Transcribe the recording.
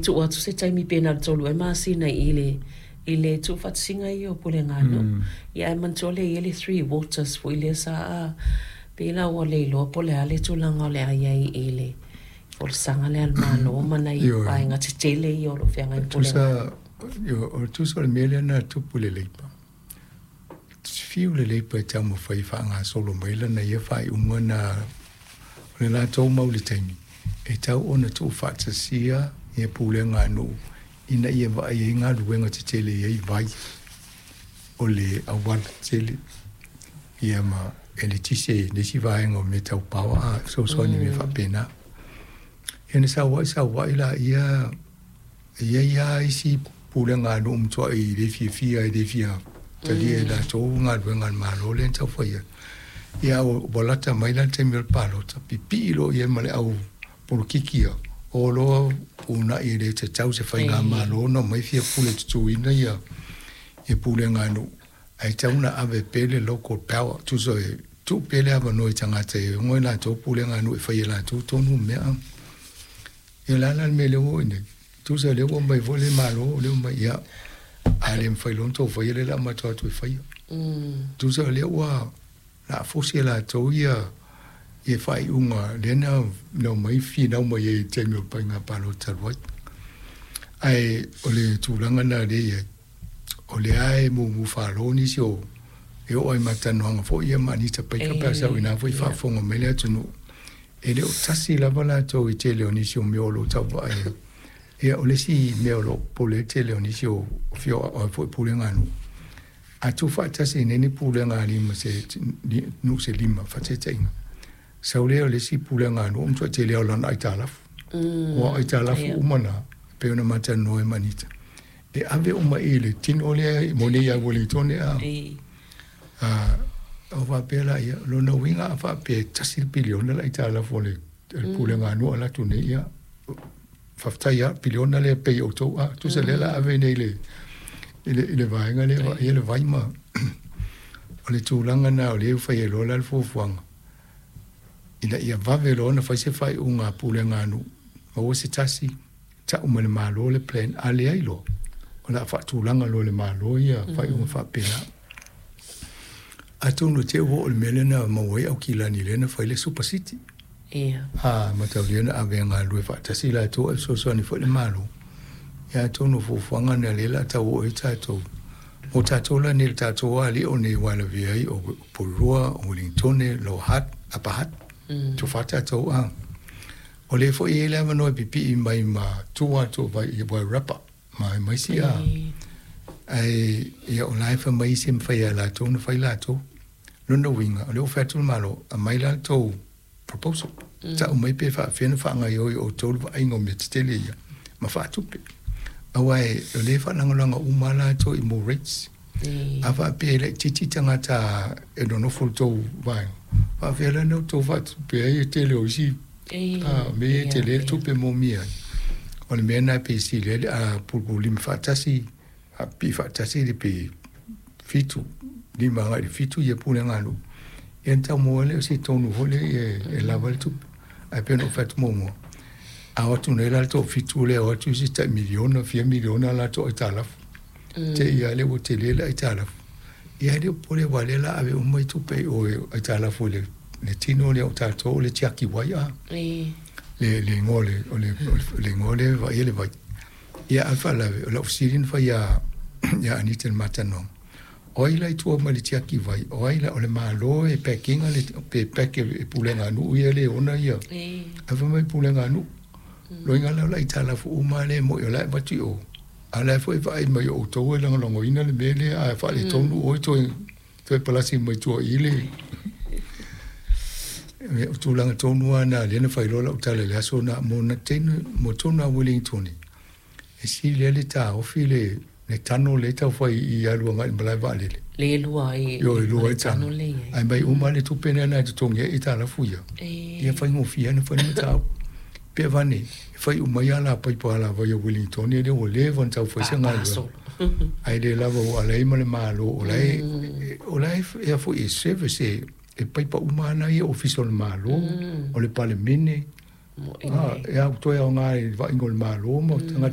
Tuu atu se taimi pe na o le 3 ea masina i le i le tuufaatasiga ia o Puleganuu. Ia ae manatua lea e i ai le Three Waters foi lea sa pei la ua le iloa po o le a le tulaga o le a i ai i le folasaga lea a le Malo ma nai vaega tetele ia o lo o feagai ma Puleganuu. O le tusa o le mea lea na tupu i le Leipa, fiu le Leipa e taumafai e faagasolo mai lana ia faaiuga na o le latou mau i le taimi, e tau ona tuufaatasia ia pulega a nuu ina ia vaai ai galuega tetele e i ai vai o le auala tele ia ma eletise i nisi vaega o mea tau power a fesoasoani i mea faapena. Ia na sauai sauai laia e i ai lava isi pulega a nuu matuai le fiafia e le fia talia e latou galuega a le Malo lea na tau fai atu. Ia ua lata mai la le taimi o le palota, pipii loa i ai ma le au polokiki ia, o loa uunai e le tatau se faigamalo ona omai fia pule tutuina ia pulega a nuu, ae tatau ona ave pea le local power, tusa e tuu pea le avanoa i tagata e ona e latou pulega a nuu e fai e latou tonu mea. Ia o le a la le mea lea ua oo i nei? Tusa o lea ua aumai foi le Malo, lea ua aumai, ia, a le mafai loa ona outou faia lea o le a matou o atu e faia. Tusa o lea ua laafosi e latou ia faaiuga lea na omai finau mai ai i le taimi o le faiga palota talu ai. Ae o le tulaga lena lea e i ai, o lea e mumu falo nisi o e oo lava i matalanoaga foi ia ma Anita Baker pe a sau ina foi faafofoga mai le atunuu, e le o tasi lava latou i tele o nisi o mea o lo o tau vaai ai. Ia o le isi mea o lo o popole ai le tele o nisi o afioaga foi pulega a nuu, a tuufaatasi nei ni pulega a lima se nuu se lima faataitaiga, sau lea o le isi pulega a nuu ua matuai tele lava o lana aitalafu. Aua o aitalafu uma na, e pei ona ma talanoa ai ma Anita, e ave uma i le tino lea mo nei ia Uelintone a ona faapea lea, o lona uiga a faapea e $1 piliona le aitalafu a le pulega a nuu alu atu nei, ia, faafetai lava, piliona lea e pay e outou, a tusa lea o le a ave nei i le vaega lea e vaaia le vai ma o le tulaga lena o lea e fai ai loa la le fuafuaga ina ia vave loa ona fai se faaiuga a pulega a nuu, maua se tasi, tau mai le Malo le plan, a leai loa, o le a faatulaga loa e le Malo ia faaiuga faapena. Atonu e te i ua oo i le mea lea na maua ai Aukilani lea na fai le Super City. A mataulia na ave e galulue faatasi latou ae fesoasoani foi le Malo. Ia atonu o fuafuaga na lea o le a tau oo ai tatou. Mo tatou la nei le tatou alii o nei aua e lavea ai o Porirua, o Uelintone, Lower Hutt, Upper Hutt, tofa tatou a. O lea foi e i ai le avanoa e pipii mai ma tua atu o Wairarapa ma isi a. Ae ia o la e fai mai isi e mafai lava e latou ona fai latou. Lona uiga, o lea ua fai atu le Malo, aumai la le tou proposal, tau mai pe faapefea ona faagaoioi e outou le vaaiga o mea tetele ia ma faatupe. Aua o lea e faalagolago uma lava latou i more rates. A faapea e laitiiti tagata e nonofo i le tou vaega, faapefea la ona outou faatupe ai le tele o isi mea ia e tele le tupe e moomia ai. O le mea lena e pei e sili ai le pulupululima faatasi, pipii faatasi le pe 7, 5 agai i le 7 ia pulega a nuu, ia ona tau maua ai lea o se tonu foi lea e lava ai le tupe. Ae pei ona ou fai atu muamua, a o atu nei la le toafitu lea, o atu isi tai miliona, fia miliona latou aitalafu. Te i lava lea ua tele le aitalafu. Ia e le o popole aua o lea o le a ave uma tupe i o i aitalafu i le tino lea o tatou o le tiaki wai a. Le le igoa o le le igoa lea e vaaia le vai. Ia a o le faalavelave, o lau fesili na fai ia ia Anita i le ma talanoaga, o ai la i tua mai le tiaki vai, o ai la, o le Malo e pack ina le, pe pack e pulega a nuu ia le ona ia. Ae fai mai pulega a nuu. Loiga la o le aitalafu uma lea e moi o la e avatu i o. A o la foi e vaai mai o outou e lagolagoina le mea lea, a faaletonu oe toe palasi mai tua i le o tulaga tonu lava na lea na fai loa lau tala i le aso na mo na tenu mo tonu a Wellington e sili ai le taofi le tano lea e tau fai i alu agai i le malae vaalele. Le lua ai Ioe, lua ai tano. Ae mai uma le tupe lea na e totogi ai aitalafu ia. Ia faigofie ona fai le mataupu. Pe avane, e fai uma ai alapaipa alavai a Wellington lea ua leva ona tau fai se galuega. Ae le lava ua ala ai ma le Malo o la e o la e foi e service e paipa uma ana ia ofisa o le Malo, o le Palemene, e au toe aoga i le vaaiga o le Malo ma tagata.